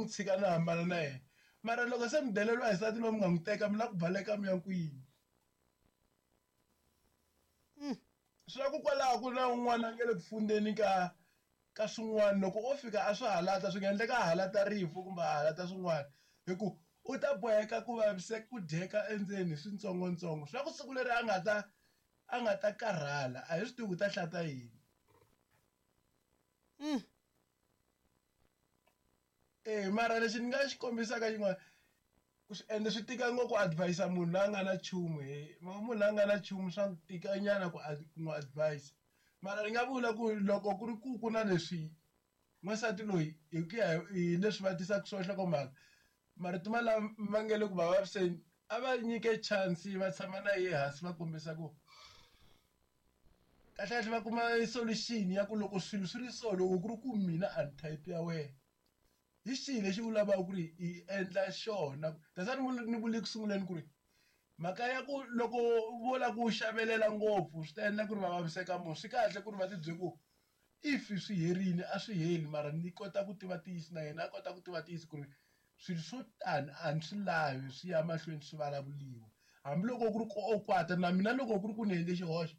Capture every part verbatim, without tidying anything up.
n'wi tshika na hambana na yena. Mara loko se mi deleriwa hi nsati loyi mi nga n'wi teka mi lava ku baleka mi ya kwini? Swi ku kwalaho ku na un'wana a nge le ku fundeni ka ka swin'wana loko o fika a swi halata swi nga endleka a halata rifu kumbe a halata swin'wana hi ku u ta boheka ku vaviseka ku dyeka endzeni hi switsongotsongo swa ku siku leri a nga ta a nga ta karhala a hi swi tivi ku ta hlata yini. Eh mara lexi ni nga xi kombisaka xin'wana ku swi ende swi tika ngopfu ku advise munhu loyi a nga na nchumu he munhu loyi a nga na nchumu swa tika nyana ku ku n'wi advise mara ni nga vula ku loko ku ri ku ku na leswi n'wansati loyi hi ku ya hi leswi va tisaka swona nhlokomhaka marito malama ma nge le ku va vaviseni a va nyike chance va tshama na yehe hansi va kombisa ku kahle kahle va kuma solution ya ku loko swilo swi ri so loko ku ri ku mina a ni type ya wena hi xihi lexi u lavaka ku ri hi endla xona that's why ni ni vule ku sunguleni ku ri mhaka ya ku loko vo lava ku xavelela ngopfu swi ta endla ku ri va vaviseka munhu swi kahle ku ri va ti byela ku if swi herile a swi heli mara ni kota ku tiva ntiyiso na yena a kota ku tiva ntiyiso ku ri swilo swo tani a ni swi lavi swi ya mahlweni swi vulavuriwa hambiloko ku ri ku o kwata na mina loko ku ri ku ni endle xihoxo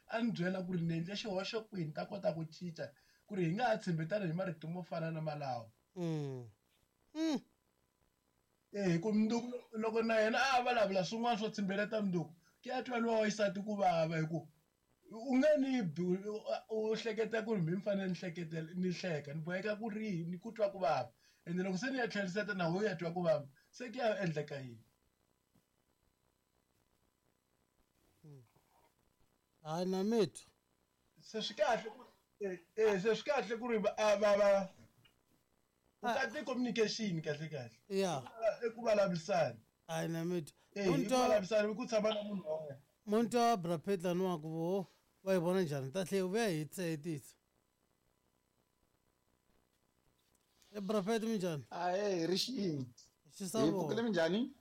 a ni byela ku ri ni endle xihoxo kwini ni ta kota ku cinca ku ri hi nga ha tshembetani hi marito mo fana na malawo. Mm. Mm. Eh ku mundzuku loko na yena a vulavula swin'wana swo tshembeleta mundzuku ki a twa lowa xisati ku vava hi ku u nge ni bi u hleketa ku ri mi fanele ni hleketela ni hleka ni boheka ku ri ni ku twa ku vava ende loko se ni ya tlheriseta na wehe u ya twa ku vava se ku ya endleka yini? Hayi na mitwa se swi kahle ku eh se swi kahle ku ri va va va ku kahle communication kahle kahle ya i ku vulavurisana hayi na mitwa eh i ku vulavurisana ku tshama na munhu wa wena muntu wa brapetla ni wa ku vo va yi vona njhani ta tlhe vuya hi tsetisa e brapet minjhani ahe ri xini xisavo hi pfukile minjhani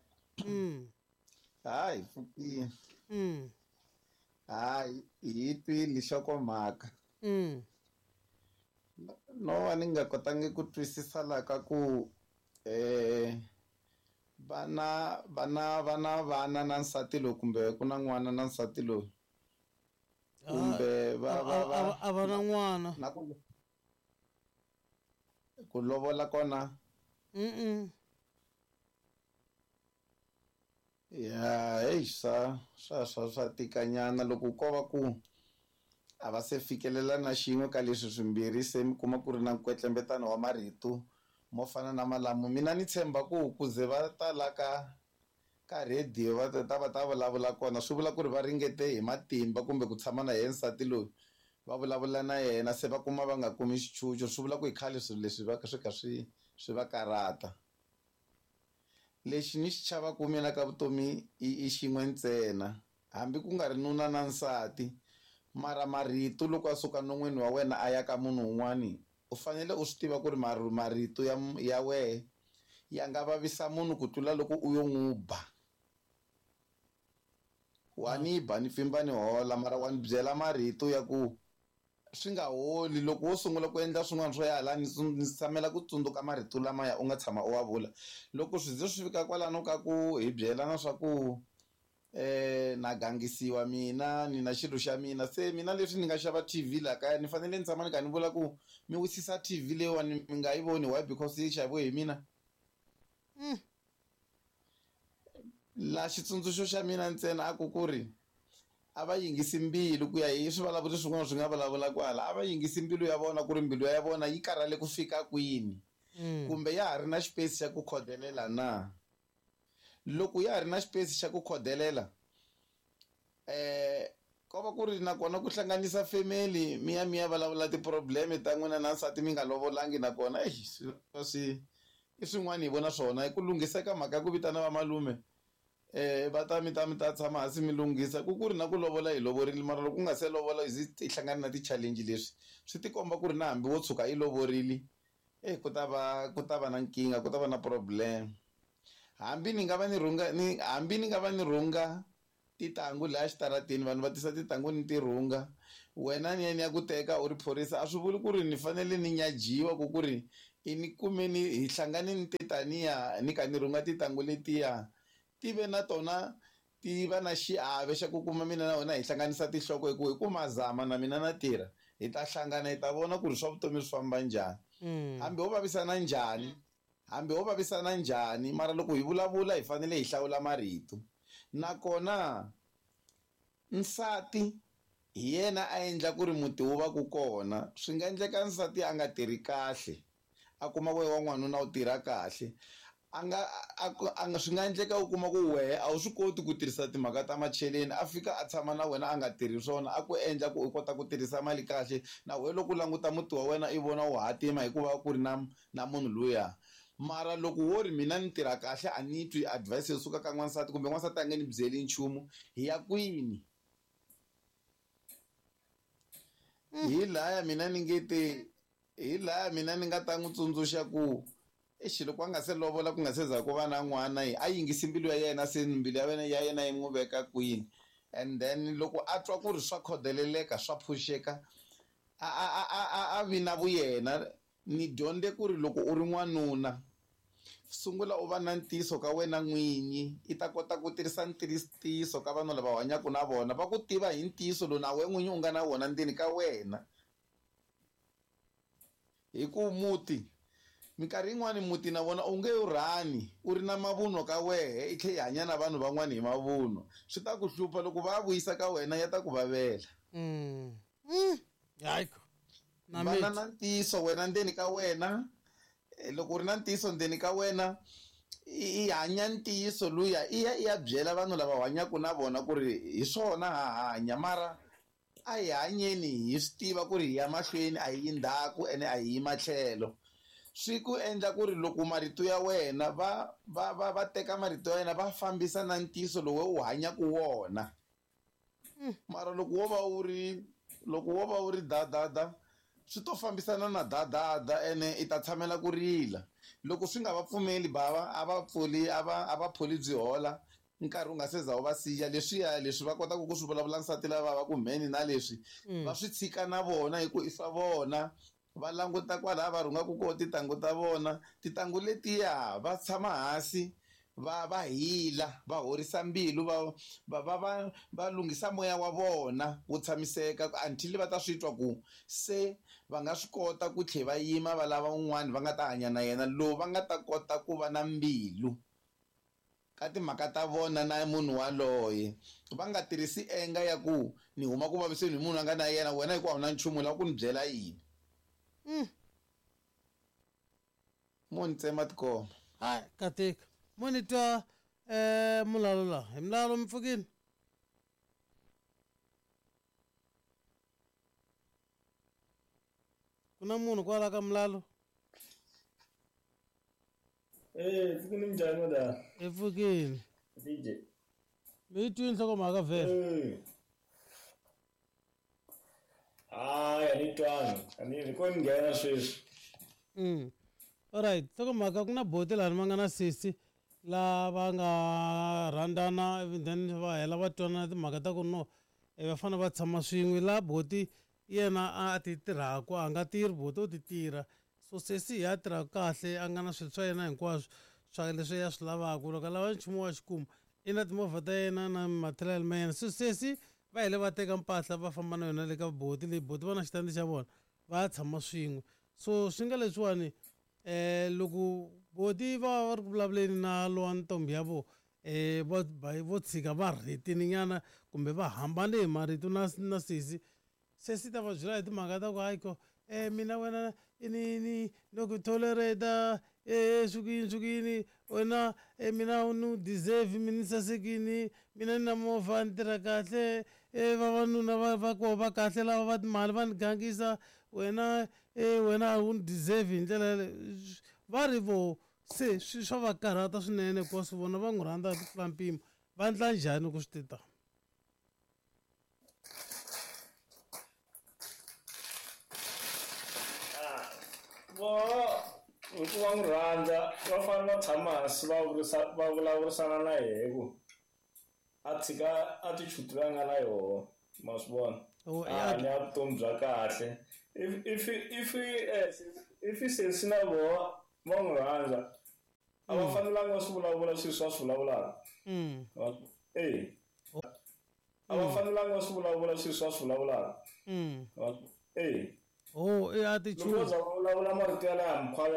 mm hayi pfukile mm hayi hi twile nhlokomhaka mm no va ni nga kotangi ku twisisa la ka ku eh vana vana vana vana na nsati loyi kumbe ku na n'wana na nsati loyi kumbe va va va a va na n'wana na ku ku lovola kona mm ya hey swa swa swa swa tikanyana loko ko va ku a va se fikelela na xin'we ka leswi swimbirhi se mi kuma ku ri na nkwetlembetano wa marito mo fana na malamu mina ni tshemba ku ku ze va ta la ka ka radio va ta va ta vulavula kona swi vula ku ri va ringete hi matimba kumbe ku tshama na yena nsati loyi va vulavula na yena se va kuma va nga kumi xichucho swi vula ku hi khale swilo leswi va swi kha swi swi va karata lexi ni xi chavaka mina ka vutomi i i xin'we ntsena hambi ku nga ri nuna na nsati mara marito loko a suka non'wini wa wena a ya ka munhu un'wani u fanele u swi tiva ku ri marito ya ya wehe ya nga vavisa munhu ku tlula loko u yo n'wi ba wa ni ba ni pfimba ni hola mara wa ni byela marito ya ku swi nga holi loko wo sungula ku endla swin'wana swo ya hala ni ni tshamela ku tsundzuka marito lamaya u nga tshama u wa vula loko swi ze swi fika kwalano ka ku hi byelana swa ku eh na gangisiwa mina ni na xilo xa mina se mina leswi ni nga xava T V la kaya ni fanele ni tshama ni kha ni vula ku mi wisisa T V leyiwani mi nga yi voni why because yi xaviwe hi mina mm. La xitsundzuxo xa mina ntsena a ku ku ri a va yingisi mbilu ku ya hi swivulavuri swin'wana swi nga vulavula kwala a va yingisi mbilu ya vona ku ri mbilu ya vona yi karhale ku fika kwini kumbe ya ha ri na xipesi xa ku khodelela na loko ya ha ri na xipesi xa ku khodelela eh ko va ku ri nakona ku hlanganisa family mi ya mi ya vulavula ti-problem ta n'wina na nsati mi nga lovolangi nakona exi swi swi i swin'wana hi vona swona i ku lunghiseka mhaka ya ku vitana vamalume eh va ta mi ta mi ta tshama hansi mi lunghisa ku ku ri na ku lovola hi lovorile mara loko ku nga se lovola hi ti hlangana na ti-challenge leswi swi tikomba ku ri na hambi wo tshuka yi lovorile eh ku ta va ku ta va na nkingha ku ta va na problem hambi ni nga va ni rhunga ni hambi ni nga va ni rhunga titangu laha xitarateni vanhu va tisa titangu ni ti rhunga wena ni ya ni ya ku teka u ri phorisa a swi vuli ku ri ni fanele ni nyajiwa ku ku ri I ni kumeni hi hlangane ni titaniya ni ka ni rhunga tintangu letiya ti ve na tona ti va na xiave xa ku kuma mina na wena hi hlanganisa tinhloko hi ku hi ku mazama na mina na tirha hi ta hlangana hi ta vona ku ri swa vutomi swi famba njhani. Hambi ho vavisana njhani, hambi ho vavisana njhani, mara loko hi vulavula hi fanele hi hlawula marito. Nakona nsati hi yena a endla ku ri muti wu va ku kona. Swi nga endleka nsati a nga tirhi kahle, a kuma ku wa n'wanuna u tirha kahle. A nga a nga swi nga endleka u kuma ku wehe a wu swi koti ku tirhisa timhaka ta macheleni, a fika a tshama na wena a nga tirhi swona, a ku endla ku u kota ku tirhisa mali kahle. Na wehe loko u languta muti wa wena i vona wu hatima hikuva ku ri na na munhu luya. Mara loko wo ri mina ni tirha kahle a ni twi advice yo suka ka n'wansati kumbe n'wansati a nge ni byeli nchumu, hi ya kwini? Hi laya mina ni nge te, hi laya mina ni nga ta n'wi tsundzuxa ku exi loko a nga se lovola ku nga se za ku va na n'wana a yingisi mbilu ya yena, se mbilu ya wena ya yena yi n'wi veka kwini. And then loko a twa ku ri swa khodeleleka swa phuxeka a a a a a vi na vuyena. Ni dyondze ku ri loko u ri n'wanuna sungula u va na ntiyiso ka wena n'winyi, i ta kota ku tirhisa ntiyiso ka vanhu lava hanyaka na vona, va ku tiva hi ntiyiso lowu na wena n'winyi u nga na wona ndzeni ka wena. Hi ku muti minkarhi yin'wani muti na vona u nge wu rhani u ri na mavunwa ka wehe i tlhe i hanya na vanhu van'wani hi mavunwa, swi ta ku hlupha loko va vuyisa ka wena ya ta ku vavela. Mm. Mm. Hayi vana na ntiyiso wena ndzeni ka wena. Loko u ri na ntiyiso ndzeni ka wena i hanya ntiyiso luya, i ya i ya byela vanhu lava hanyaka na vona ku ri hi swona ha hanya, mara a hi hanyeni hi swi tiva ku ri hi ya mahlweni a hi yi ndzhaku ene a hi yi matlhelo. Swi ku endla ku ri loko marito ya wena va va va va teka marito ya wena va fambisa na ntiyiso lowu u hanyaka wona. Mara loko wo va u ri loko wo va u ri da da da swi to fambisana na da da da ene i ta tshamela ku rila. Loko swi nga va pfumeli bava a va pfuli a va a va pholi byi hola nkarhi wu nga se za wu va siya, leswiya leswi va kotaka ku swi vulavula nsati lava va ku mheni na leswi va swi tshika na vona hi ku i swa vona. Va languta kwalaya va rhungaka koho tintangu ta vona, tintangu letiya va tshama hansi va va hila va horisa mbilu va va va va va lunghisa moya wa vona wu tshamiseka until va ta swi twa ku se va nga swi kota ku tlhe va yima va lava un'wana va nga ta hanya na yena lowu va nga ta kota ku va na mbilu ka timhaka ta vona na munhu waloye. Va nga tirhisi enga ya ku ni huma ku vaviseni hi munhu a nga na yena, wena hikuva a wu na nchumu lava ku ni byela yini. Mm. Mo ni tsema tikoma. Hayi katika mo ni twa eh mulalo la hi mulalo mi pfukini. Ku na munhu kwala ka mulalo? Eh, pfukini minjhani madam? Hi pfukini. D J. Mi yi twini nhlokomhaka vhele? Eh. Hayi a ni twanga, a ni ni ko ni nghena sweswi. Mm. Alright, nhlokomhaka ku na boti laha ma nga na sesi la va nga rhandzana ivi then va hela va twanana timhaka ta ku no va fanele va tshama swin'we, la boti yena a ti tirhaka a nga tirhi boti u ti tirha, so sesi hi a tirhaka kahle a nga na swilo swa yena hinkwaswo swa leswi ya swi lavaka, loko a lava nchumu wa xikuma i na timovha ta yena na material ma yena. So sesi va hele va teka mpahla va famba na yona le ka boti leyi, boti va na xitandi xa vona va ya tshama swin'we. So swi nga leswiwani eh loko boti va va ri ku vulavuleni na lowa ntombi ya vona eh vo vo tshika va rhetini nyana kumbe va hambane hi marito na na sesi, sesi ta va byela hi timhaka ta ku hayi ko eh mina wena i ni ni loko tolerate eh swi ku yini swi ku yini wena eh mina u ni deserve mi ni sasekini mina ni na movha ni tirha kahle eh vavanuna va va koho va kahle lava va timali va ni gangisa wena eh wena a wu ni deserve hi ndlela yaleyo. Va ri vo se swi swa va karhata swinene hikuva swi vona va n'wi rhandza hi ku tlula mpimo, va endla njhani ku swi ti ta? Vo hikuva n'wi rhandza va fanele va tshama hansi va vurisa va vulavurisana na yehe ku a tshika attitude leyi a nga na yoho, ma swi vona, Oh, a ya hanya vutomi bya kahle. If if if eh, if sesi na voho va n'wi rhandza a va fanelanga va swi vulavula swilo swa swi vulavulaka. Mm. E a va fanelanga va swi vulavula swilo swa swi vulavulaka. Mm. E Oh, i loko vo attitude. za va vulavula marito yalaya mkhwa